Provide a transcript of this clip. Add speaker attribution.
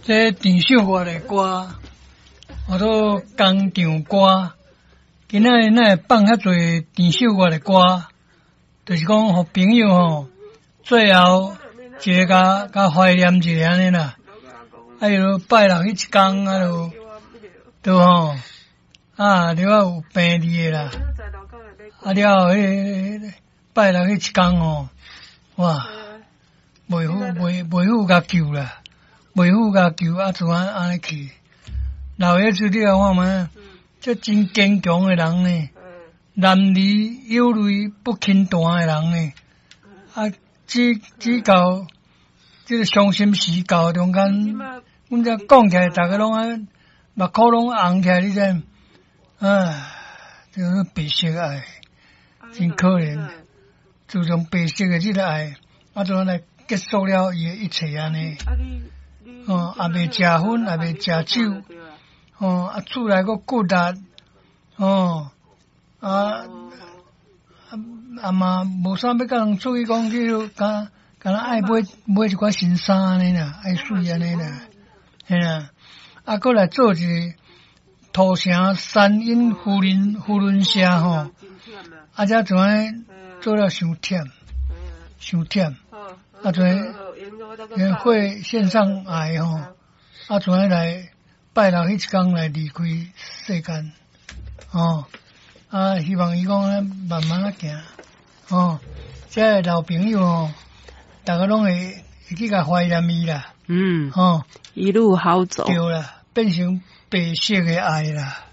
Speaker 1: 這鄭秀月的歌，號做工場歌。今仔日咱會放遐濟鄭秀月的歌，就是講予朋友吼，最後一个共共懷念一下按呢啦。啊，又拜六彼一工啊，就對吼，啊，了有病佇的啦。啊了後，彼个拜六彼一工吼，哇，袂赴袂袂赴共救啦，袂赴共救啊，就按按呢去。老爺子你來看覓？這真堅強的人呢，男兒有淚不輕彈的人呢，啊，只只到這个傷心時到中間，阮這講起來，逐家攏愛目箍攏紅起來，你知？唉，這個白色愛，真可憐。自從白色的這个愛，啊，就按呢結束了伊的一切按呢。哦，也袂食薰，也袂食酒。哦，啊，厝內閣骨力，哦，啊，啊，啊嘛無啥欲共人出去講去，敢敢若愛買買一寡新衫按呢啦，愛媠按呢啦，嘿啦，啊，閣來做一个土城三莺扶輪扶輪社吼，啊，才怎按呢做了傷忝，傷忝，啊，怎按會線上愛吼，啊，怎按呢來。拜六彼一工來離開世間，哦，啊，希望伊講慢慢仔行，哦，這个老朋友哦，逐家攏會會去共懷念伊啦，哦，
Speaker 2: 一路好走，
Speaker 1: 對啦，變成白色的愛啦。